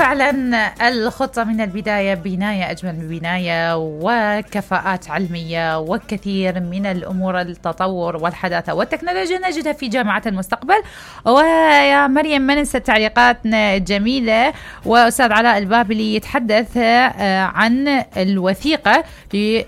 فعلا الخطة من البداية بناية أجمل من بناية، وكفاءات علمية وكثير من الأمور التطور والحداثة والتكنولوجيا نجدها في جامعة المستقبل. ويا مريم ما ننسى تعليقاتنا الجميلة، وأستاذ علاء البابلي يتحدث عن الوثيقة في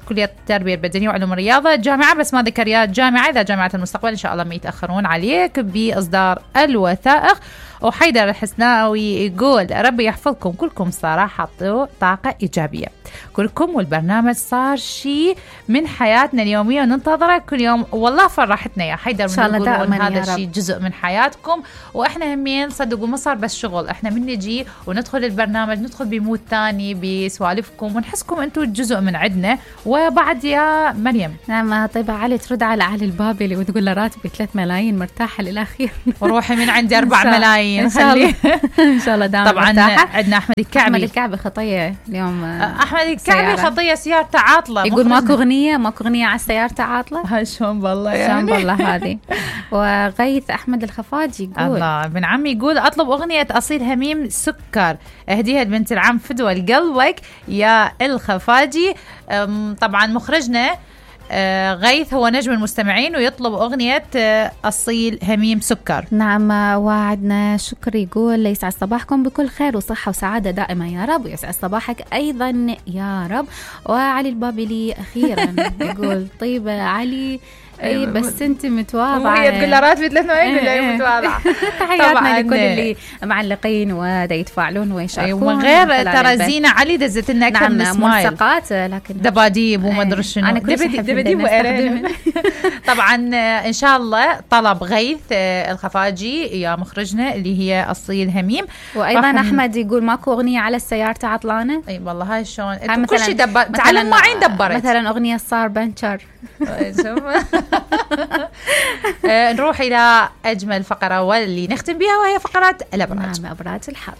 كلية التربية البدنية وعلوم الرياضة جامعة، بس ما ذكر يا جامعة. إذا جامعة المستقبل إن شاء الله ما يتأخرون عليك بإصدار الوثائق. وحيدر الحسناوي يقول ربي يحفظكم كلكم، صراحة طاقة إيجابية كلكم، والبرنامج صار شيء من حياتنا اليومية وننتظره كل يوم. والله فرحتنا يا حيدر إن شاء الله دائما، هذا الشيء جزء من حياتكم، وإحنا همين صدقوا ما صار بس شغل، إحنا من نجي وندخل البرنامج ندخل بمود ثاني بسوالفكم ونحسكم أنتوا جزء من عندنا. وبعد يا مريم نعم طيبة علي ترد على علي البابلي وتقول له راتبي 3 ملايين مرتاحة للأخير وروحي من عندي 4 ملايين إن شاء الله. إن شاء الله دائما طبعا مرتاحة. عندنا أحمد الكعبي خطية اليوم. أحمد الكعبي خطية سيارته عاطلة، يقول ماكو أغنية على سيارته عاطلة. هاي شلون بالله شلون بالله هذه. وغيث أحمد الخفاجي يقول الله ابن عمي يقول أطلب أغنية أصيل هميم سكر أهديها لبنت العم فدوى لقلبك يا الخفاجي. طبعا مخرجنا غيث هو نجم المستمعين ويطلب أغنية أصيل هميم سكر. نعم. وعدنا شكر يقول يسعد صباحكم بكل خير وصحة وسعادة دائما يا رب، ويسعد صباحك أيضا يا رب. وعلي البابلي أخيرا يقول طيبة علي اي بس انت متواضعه، وهي تقول له راتبي 3 ملايين يقول لها متواضعه. تحياتنا لكل اللي معلقين ودا يتفاعلون ويشاركون. ومن غير ترى زينة علي دزت لنا كم من سمايل ملصقات، لكن دباديب وما ادري شنو، دباديب وإيرين. طبعا ان شاء الله طلب غيث الخفاجي يا مخرجنا اللي هي أصيل هميم. وايضا احمد يقول ماكو اغنيه على السيارة عطلانه. اي والله هاي شلون كل شيء تعلم معين دبرت، مثلا اغنيه صار بنشر. نروح إلى أجمل فقرة واللي نختم بها وهي فقرات الأبراج. نعم أبراج الحظ.